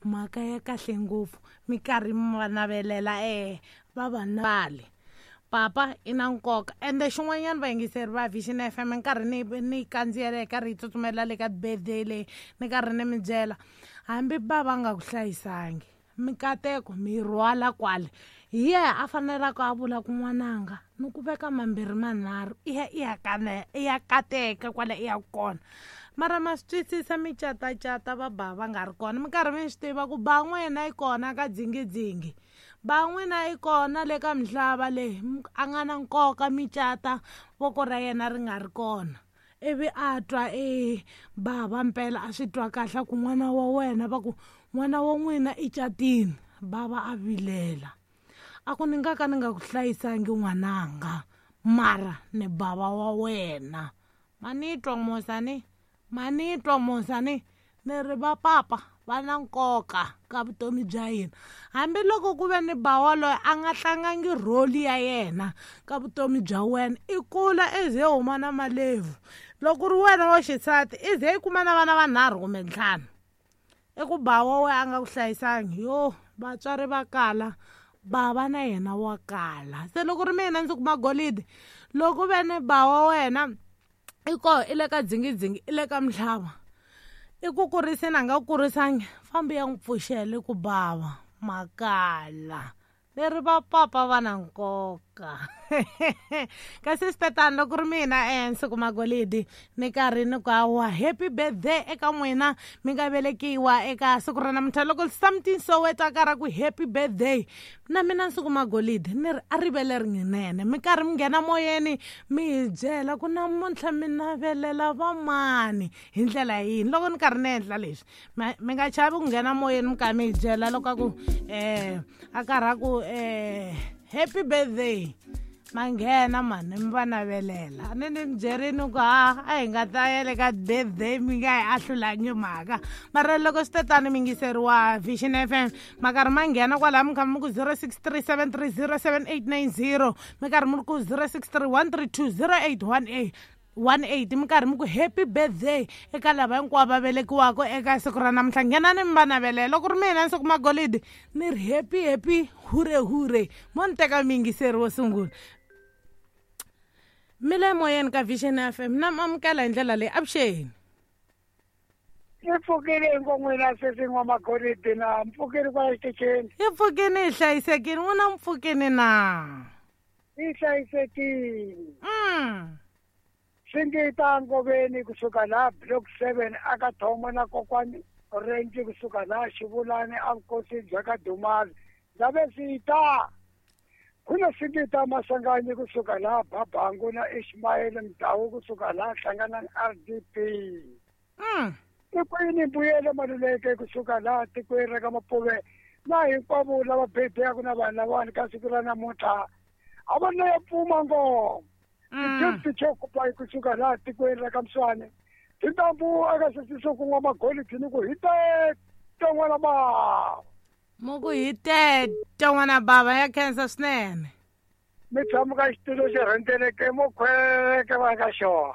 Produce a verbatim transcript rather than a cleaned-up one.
Mhaka ya kahle ngopfu mi karhi mi va navelela e va va vale papa i na nkoka. Ende xin'wanyana vayingiseri va Vision F M nkarhi ni ni kandziyela hi karhi hi tsutsumela le ka birthday leyi ni karhi ni mi byela hambi ba va nga ku hlayisangi mikateko mi rhwala kwale hi yena a fanelaka a vula ku n'wananga ni ku veka mambirhi manharhu i ya i ya kana i ya kateka kwale i ya kona. Mara ma swi twisisa mi catacata va ba va nga ri kona mi karhi mi swi tiva ku ba n'wina yi kona ka dzingidzingi ba n'wina yi kona le ka mihlava leyi a nga na nkoka mi cata voko ra yena ri nga ri kona. Ivi a twa e bava mpela a swi twa kahle ku n'wana wa wena va ku n'wana wa n'wina i catini bava a vilela a ku ni nga ka ni nga ku hlayisangi n'wananga mara ni bava wa wena. Manitwa mosani manitwa mosani ni ri va papa va na nkoka ka vutomi bya hina hambiloko ku ve ni bawa loyi a nga tlangangi role ya yena ka vutomi bya wena i kula i ze huma na malebvu loko ri wena wa xisati i ze i kuma na vana vanharhu kumbe ntlhanu i ku bawa we a nga ku hlayisangi yo vatswari va kala bava na yena wa kala. Se loko ri mina ndzi kuma golidi loko ve ni bawa wena i koho i le ka dzingidzingi i le ka mihlava i ku kuriseni a nga ku kurisangi fambi ya n'wi pfuxele ku bava makala leri va papa va na nkoka. Kasi swi loko ri mina e Nsuku Magolidi ni karhi ni ku hawa happy birthday eka n'wina mi nga velekiwa eka siku ra namuntlha loko something Soweto a karhi a ku happy birthday na mina Nsuku Magolidi ni ri a rivele rinene mi karhi mi nghena moyeni mi hi byela ku namuntlha mi navelela vamani hi ndlela yini loko ni karhi ni endla leswi mi nga chavi ku nghena moyeni mi karhi mi hi byela loko a ku um a karhi a ku eh happy birthday manghena mani mi va navelela ni ni mi byerini ku ha a hi nga ta ya le ka birthday mi nga hi ahlulangi mhaka mara loko swi tetani mi yingiseriwa Vision F M ma karhi ma nghena kwalaha mi kha mi ku zero six three seven three zero seven eight nine zero mi karhi mi ri ku zero six three one three two zero eight one eight one eight mi karhi mi ku happy birthday eka lava hinkwavo va velekiwaka eka siku ra namuntlha nghenani mi va navelela loko ri mina Nsuku Magolidi ni ri happy happy hure hure mo ni teka miyingiseri wo sungula mi le moyeni ka Vision F M na mi amukela hi ndlela leyi avuxeni. Hi pfukile hinkwenu sesi N'wamagolidi na mpfukile kwala xitichini. Hi pfukile hi hlayisekile n'wina mi pfukile na hi hlayisekile. Mm. Singita ngoveni kusuka la block seven aka Thomo na kokwani Orange kusuka la Xivulani a vukosi bya ka Dumali ndave sita kuna Singita Masanganyi kusuka la Babangu na Ishmael Mdawu kusuka la hlangana R D P. Mm. Tikwini mbuyelo Maluleke kusuka la tikweni ra ka Mapuve na hinkwavo lava bebeyaku na vanhu lavawani ka siku ra namuntlha a va na ya pfuma ngoma. Ti chokupa kusuka la tikweni ra ka Mswane tintambu aka sesiso ku N'wamagolidi ni ku hi tete n'wana bava mo ku hi tete n'wana bava ya khensa swinene mi tshama ka xitulo xi rhendzeleke mo khweke va ka xona.